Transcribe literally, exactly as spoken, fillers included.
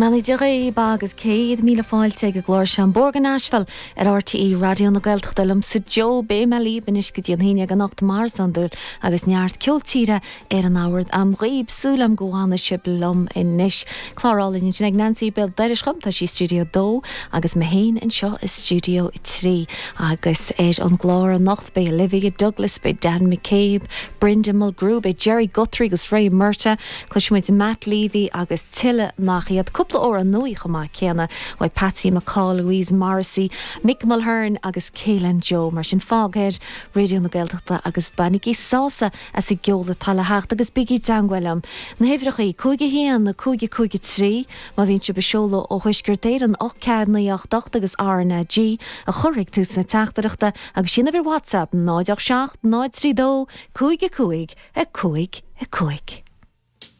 mbeannaí Dé dhaoibh agus céad míle fáilte ag an gclár seo An Bóthar go Nashville ar RTÉ Raidió na Gaeltachta liomsa Joe beidh mé libh anois go dtí an haon déag anocht mar is iondúil agus neart ceol tíre ar an mbord agam dhaoibh súil agam go bhfanfaidh sibh liom anois. Clár álainn sin ag Nancy béal dorais dhom tá sí i stiúideo dó agus mé féin anseo i stiúideo trí agus ar an gclár anocht beidh Olivia Douglas beidh Dan McCabe, Brendan Mulgrew, beidh Jerry Guthrie agus Ray Murta, Cloisfimid Matt Levy agus tuilleadh nach iad cúpla amhrán nua chomh maith céanna ó Patsy McCall, Louise Morrissey, Mick Mulhern agus Keelan Joe mar sin fág air Raidió na Gaeltachta agus bainigí sásamh as an gceol atá le theacht agus bígí i dteagmháil liom. Na huimhreacha cúig a haon na cúig cúig trí má bhíonn sibh ag seoladh ó Thuaisceart Éireann ocht ceathair naoi ocht ocht agus RnaG a chur ag tús na teachtaireachta agus sin ar WhatsApp náid seacht náid trí dó cúig a cúig a cúig a cúig.